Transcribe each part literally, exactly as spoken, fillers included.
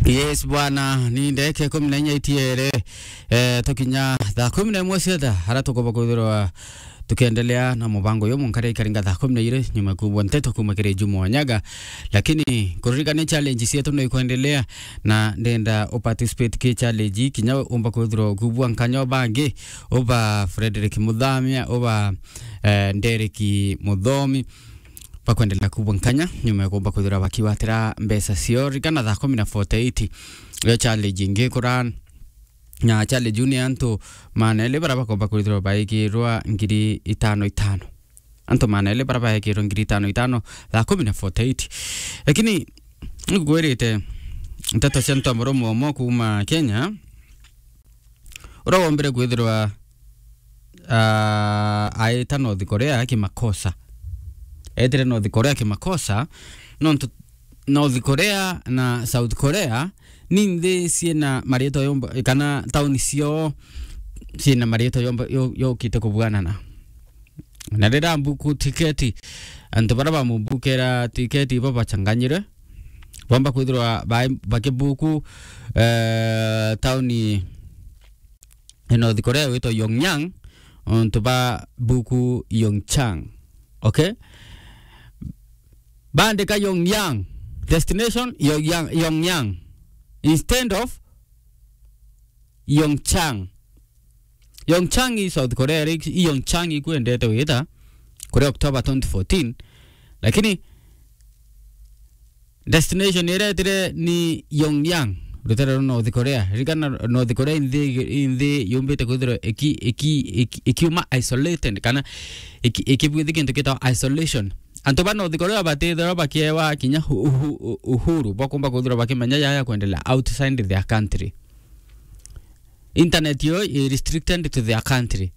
Yes bwana, ni ndeke kumi na inya itiere, eh, tukinya thaa kumi na imwe cia thaa, ara tukoba kwithirwa tukiendelea na mubango uyu munkare ikaringa thaa kumi na iri nyuma kubwa nteto kuma kiri Juma Wanyaga. Lakini kuririkania challenge cietu no ikwendelea, na ndenda uparticipate ki challenge, kinya umba kwithirwa kubwa nkanyo bangi, uba Frederick Muthamia, uba, eh, Derek Muthomi, bakwendelea kubwa nkanya nyuma ya kumba kwithirwa bakiwatira mbeca cio. Rikana thaa kumi na forty-eight, yo challenge ingi kura, na challenge iu ni antu maana eli bara bakomba kwithirwa baikirwa ngiri itano itano. Antu maana eli bara baikirwa ngiri itano itano thaa kumi na forty-eight. Lakini nikukwirite nteto cia ntu murume umwe kuma Kenya, uria wombire kwithirwa, ah, aita North Korea kimakosa. Etire North Korea kimakosa, nontu North Korea na South Korea ni nthi ciina mariitwa yomba, kana tauni cio ciina mariitwa yomba, yo-, yokite kubuanana. Na riria mbuku tiketi, antu baria bamubukera tiketi ibo bachanganyire, bomba kwithirwa ba-, bakibuku, eh, tauni ya North Korea witwa Pyongyang, ontu ba buku Pyeongchang. Okay? Bandika Pyongyang, destination Pyongyang, Pyongyang, instead of Pyeongchang. Pyeongchang i South Korea, ri-, i Pyeongchang ikwendete wita kuri October twenty fourteen, lakini destination iria etire ni Pyongyang, rutere rwa North Korea. Ririkana North Korea i nthi, i nthi yumbite kwithirwa iki-, iki-, iki-, ikiuma isolated, kana iki-, ikibwithi kintu gitagwa isolation. Antu ba North Korea batithirwa bakiewa kinya uhu-, uhu-, uhuru bwa kumba kwithirwa bakimenya yaya kwendelea outside their country. Internet yo i restricted to their country.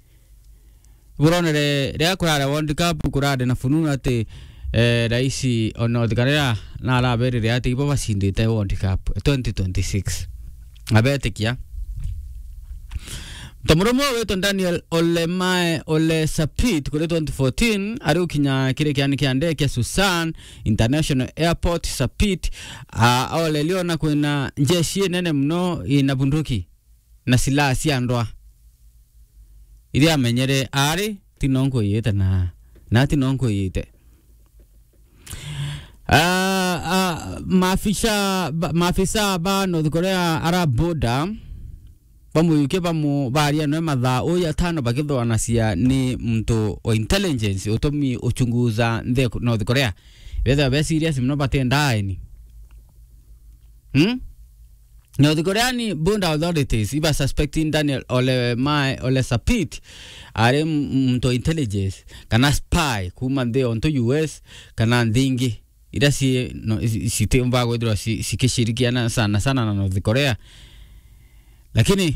Buronere riria kurare World Cup, kurare na fununu ati, eh, raisi o North Korea na araberire ati ibo bacindite World Cup twenty twenty-six. Abetikia. Ntomurume witwa Daniel Olemae Ole Sapit kuri twenty fourteen, ari ukinya kiri kiani kia ndege kia Susan International Airport, Sapit, a, olelio na kwina njeshi inene muno ina bunduki na silaha cia ndwa. Iria amenyere ari, ti no nkwiyite na, na ti no nkwiyite. Ah, ah, maafisa ba, maafisa ba North Korea ara border bamuyukie bamu-, baria nwe mathaa uyu atano bakithwanacia ni muntu wa intelligence utumi uchunguza nthe North Korea. Betha be serious muno batenda aeni. Hmm? North Korean border authorities iba suspecting Daniel Ole Mae, Ole Sapit, ari m-, muntu wa intelligence kana spy kuma nthi onto U S kana nthi ingi iria ci, no, ci, citiumba kwithirwa ci, cikishirikiana sana sana na North Korea. Lakini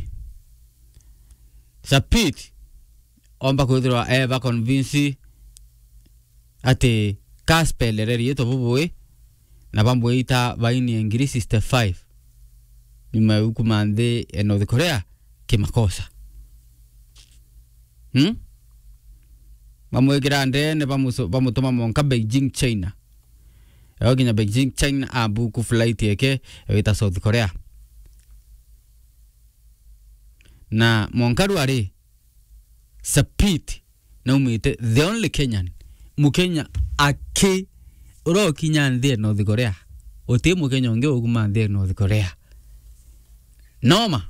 Sapit omba kwithirwa eba convince ati kaspelere riitwa bubui na bamwita baini ya ngiri sixty-five nyuma ya kuma nthi ya North Korea kimakosa. Hmm? Bamwikira ndene, bamuso-, bamutuma monka Beijing, China. Ewe kinya Beijing, China, abuku flight yake ewita South Korea. Na monka rwari Sapit naumite, the only Kenyan, Mukenya aki urokinya nthi ya North Korea. Uti Mukenya ungi ukuma nthi ya North Korea. Noma.